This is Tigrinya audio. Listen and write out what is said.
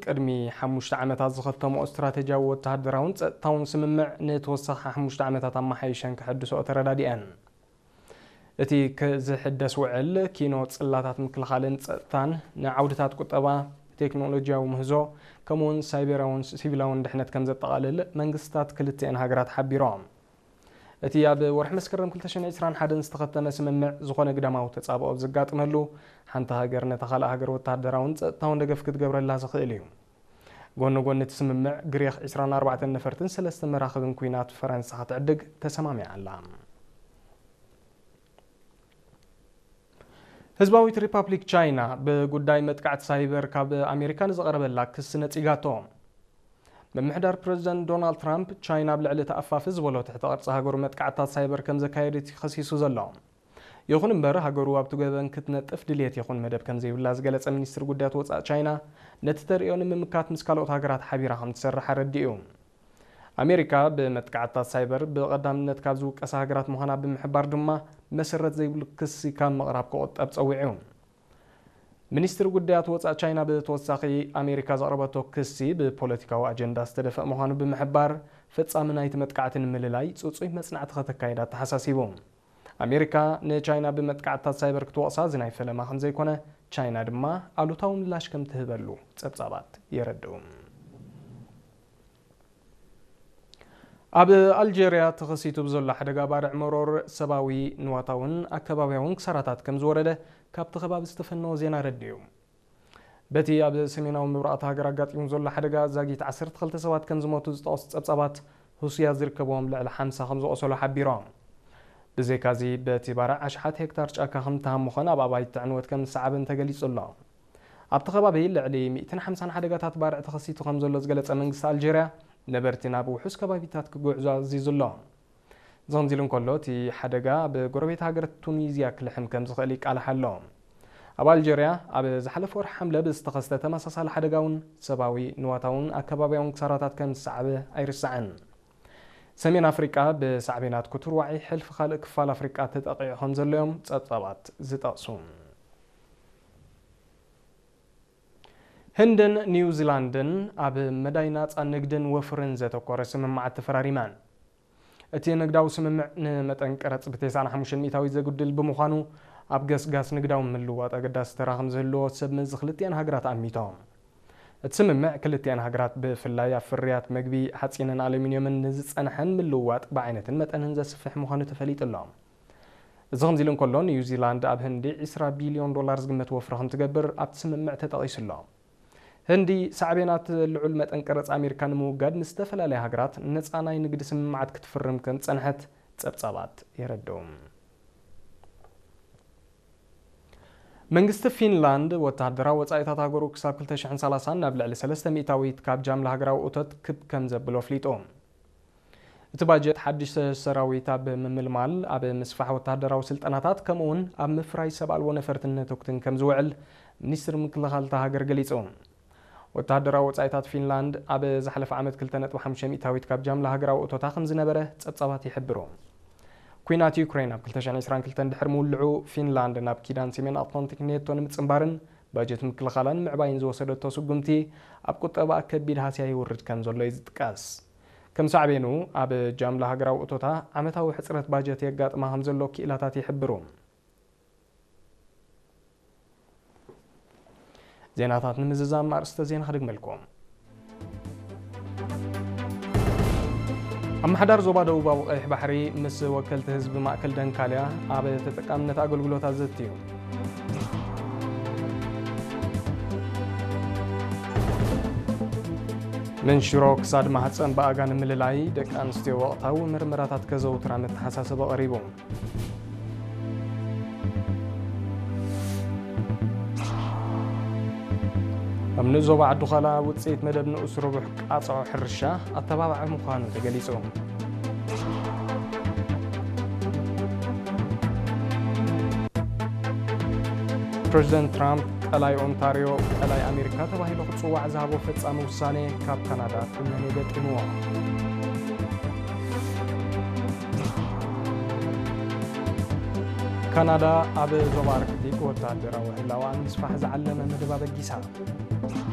ቅድሚ ሓሙሽተ ዓመታት ዝኸተምኦ ስትራተጂያዊ ወተሃደራውን ጸጥታውን ስምምዕ ንተወሳኺ ሓሙሽተ ዓመታት ኣመሓይሸን ክሕድስኦ ተረዳዲአን። እቲ ክ-፣ ዝሕደስ ውዕል ኪኖ ጽላታት ምክልኻልን ጸጥታን፣ ንዓውድታት ቁጠባ፣ ቴክኖሎጂያዊ ምህዞ፣ ከምኡውን ሳይበራውን ሲቪላውን ድሕነት ከም ዘጠቓልል መንግስታት ክልቲአን ሃገራት ሓቢሮም። እቲ ኣብ ወርሒ መስከረም ክልተ ሽሕን ዕስራን ሓደን ዝተኸተመ ስምምዕ ዝኾነ ግዳማዊ ተጻብኦ ኣብ ዘጋጥመሉ፣ ሓንቲ ሃገር ነታ ካልእ ሃገር ወተሃደራውን ጸጥታውን ደገፍ ክትገብረላ ዝኽእል እዩ። ጎኒ ጎኒ እቲ ስምምዕ፣ ግሪኽ ዕስራን ኣርባዕተን ነፈርትን ሰለስተ መራኽብን ኲናት ፈረንሳ ክትዕድግ ተሰማሚዓ ኣላ። ህዝባዊት ሪፓብሊክ ቻይና ብጉዳይ መጥቃዕቲ ሳይበር ካብ ኣሜሪካ ንዝቐረበላ ክሲ ነጺጋቶ። ምምሕዳር ፕረዚደንት ዶናልድ ትራምፕ፣ ቻይና ኣብ ልዕሊ እቲ ኣፋፊ ዝበሎ ትሕተ ቅርጺ ሃገሩ መጥቃዕትታት ሳይበር ከም ዘካየደት እዩ ከሲሱ ዘሎ። ይኹን እምበር፣ ሃገሩ ኣብቲ ገበን ክትነጥፍ ድልየት ይኹን መደብ ከም ዘይብላ ዝገለጸ ሚኒስትሪ ጉዳያት ወጻኢ ቻይና፣ ነቲ ተርእዮ ንምምካት ምስ ካልኦት ሃገራት ሓቢራ ከም ትሰርሕ ኣረዲኡ። ኣሜሪካ ብመጥቃዕትታት ሳይበር ብቐዳምነት ካብ ዝውቀሳ ሃገራት ምዃና ብምሕባር ድማ፣ መሰረት ዘይብሉ ክሲ ካብ ምቕራብ ክቑጠብ ጸዊዑ። ሚኒስትሪ ጉዳያት ወጻኢ ቻይና ብተወሳኺ፣ ኣሜሪካ ዘቕረበቶ ክሲ ብፖለቲካዊ ኣጀንዳ ዝተደፍአ ምዃኑ ብምሕባር፣ ፈጻሚ ናይቲ መጥቃዕቲ ንምልላይ ጽጹይ መጽናዕቲ ከተካይድ ኣተሓሳሲቡ። ኣሜሪካ ንቻይና ብመጥቃዕትታት ሳይበር ክትወቕሳ እዚ ናይ ፈለማ ከም ዘይኮነ፣ ቻይና ድማ ኣሉታዊ ምላሽ ከም ትህበሉ ጸብጻባት የረድኡ። ኣብ ኣልጀርያ ተኸሲቱ ብዘሎ ሓደጋ ባርዕ መሮር ሰብኣዊ ንዋታውን ኣከባብያውን ክሳራታት ከም ዝወረደ ካብቲ ከባቢ ዝተፈነወ ዜና ኣረዲኡ። በቲ ኣብ ሰሜናዊ ምብራቕ እታ ሃገር ኣጋጢሙ ዘሎ ሓደጋ ዛጊት ዓሰርተ ክልተ ሰባት ከም ዝሞቱ ዝጠቐሱ ጸብጻባት፣ ህሱያት ዝርከብዎም ልዕሊ ሓምሳ ከም ዝቖሰሉ ሓቢሮም። ብዘይካዚ፣ በቲ ባርዕ ኣሽሓት ሄክታር ጫካ ከም ዝተሃሞኸን ኣብ ኣባይቲ ዕንወት ከም ዝሰዓበን ተገሊጹ ኣሎ። ኣብቲ ከባቢ ልዕሊ ሚእትን ሓምሳን ሓደጋታት ባርዕ ተኸሲቱ ከም ዘሎ ዝገለጸ መንግስቲ ኣልጀርያ፣ ነበርቲ ናብ ውሑስ ከባቢታት ክጉዕዙ ኣዚዙ ኣሎ። እዚ ከምዚ ኢሉ እንከሎ፣ እቲ ሓደጋ ኣብ ጎረቤት ሃገር ቱኒዝያ ክልሕም ከም ዝኽእል ይቃላሕ ኣሎ። ኣብ ኣልጀርያ ኣብ ዝሓለፈ ወርሒ ሓምለ ብዝተኸስተ ተመሳሳሊ ሓደጋ እውን ሰብኣዊ፣ ንዋታውን ኣከባብያውን ክሳራታት ከም ዝሰዓበ ኣይርሳዕን። ሰሜን ኣፍሪቃ ብሳዕቤናት ክቱር ዋዒ ሕልፊ ካልእ ክፋል ኣፍሪቃ ተጠቒዑ ከም ዘሎ እዮም ጸብጻባት ዝጠቕሱ። ህንድን ኒውዚላንድን ኣብ መዳይ ናጻ ንግድን ወፍርን ዘተኮረ ስምምዓት ተፈራሪመን። እቲ ንግዳዊ ስምምዕ ንመጠን ቀረጽ ብተስዓን ሓሙሽተን ሚእታዊት ዘጉድል ብምዃኑ፣ ኣብ ገስጋስ ንግዳዊ ምልውዋጥ ኣገዳሲ ተራ ከም ዝህልዎ ሰብ መዚ ክልቲኣን ሃገራት ኣሚቶም። እቲ ስምምዕ፣ ክልቲኣን ሃገራት ብፍላይ ኣብ ፍርያት መግቢ፣ ሓጺንን ኣሉሚንየምን ንዝጸንሐን ምልውዋጥ ብዓይነትን መጠንን ዘስፍሕ ምዃኑ ተፈሊጡ ኣሎ። እዚ ከምዚ ኢሉ እንከሎ፣ ኒውዚላንድ ኣብ ህንዲ ዕስራ ቢልዮን ዶላር ዝግመት ወፍሪ ከም ትገብር ኣብቲ ስምምዕ ተጠቒሱ ኣሎ። ህንዲ፣ ሳዕቤናት ልዑል መጠን ቀረጽ ኣሜሪካ ንምውጋድ ምስ ዝተፈላለያ ሃገራት ነጻ ናይ ንግዲ ስምምዓት ክትፍርም ከም ዝጸንሐት ጸብጻባት የረድኡ። መንግስቲ ፊንላንድ፣ ወተሃደራዊ ወጻኢታት ሃገሩ ክሳብ ክልተ ሽሕን ሰላሳን ናብ ልዕሊ ሰለስተ ሚእታዊት ካብ ጃምላ ሃገራዊ እቶት ክብ ከም ዘብሎ ኣፍሊጡ። እቲ ባጀት፣ ሓድሽ ሰራዊት ኣብ ምምልማል፣ ኣብ ምስፋሕ ወተሃደራዊ ስልጠናታት፣ ከምኡውን ኣብ ምፍራይ ሰብ ኣልቦ ነፈርትን ነተኩትን ከም ዝውዕል ሚኒስትሪ ምክልኻል እታ ሃገር ገሊጹ። ወተሃደራዊ ወጻኢታት ፊንላንድ ኣብ ዝሓለፈ ዓመት ክልተ ነጥቢ ሓሙሽተ ሚእታዊት ካብ ጃምላ ሃገራዊ እቶታ ከም ዝነበረ ጸብጻባት ይሕብሩ። ኲናት ዩክሬን ኣብ ክልተ ሽሕን ዕስራን ክልተን ድሕሪ ምውልዑ፣ ፊንላንድ ናብ ኪዳን ሰሜን ኣትላንቲክ ኔቶ ንምጽንባርን ባጀት ምክልኻላን ምዕባይን ዝወሰደቶ ስጉምቲ፣ ኣብ ቁጠባኣ ከቢድ ሃስያ የውርድ ከም ዘሎ እዩ ዝጥቀስ። ከም ሳዕቤኑ፣ ኣብ ጃምላ ሃገራዊ እቶታ ዓመታዊ ሕጽረት ባጀት የጋጥማ ከም ዘሎ ክኢላታት ይሕብሩ። ዜናታት ንምዝዛም ኣርእስተ ዜና ክድግመልኩም። ኣመሓዳር ዞባ ደቡባዊ ቀይሕ ባሕሪ ምስ ወከልቲ ህዝቢ ማእከል ደንካልያ ኣብ ተጠቃምነት ኣገልግሎታት ዘትዩ። መንሽሮ ክሳድ ማህፀን ብኣጋ ንምልላይ ደቂ ኣንስትዮ ወቕታዊ ምርመራታት ከዘውትራ መተሓሳሰቢ ቀሪቡ። ኣብ ንኡስ ዞባ ዓዲ ዃላ ውፅኢት መደብ ንኡስ ርቡሕ ቃፅዖ ሕርሻ ኣተባባዒ ምዃኑ ተገሊፁ። ፕሬዚደንት ትራምፕ ቀላይ ኦንታርዮ ቀላይ ኣሜሪካ ተባሂሉ ክፅዋዕ ዝሃቦ ፈፃሚ ውሳኔ ካብ ካናዳ ኩነኔ ገጢምዎ። ካናዳ ኣብ ዞባ ኣርክቲክ ወታደራዊ ህላወኣ ንምስፋሕ ዝዓለመ መደብ ኣበጊሳ።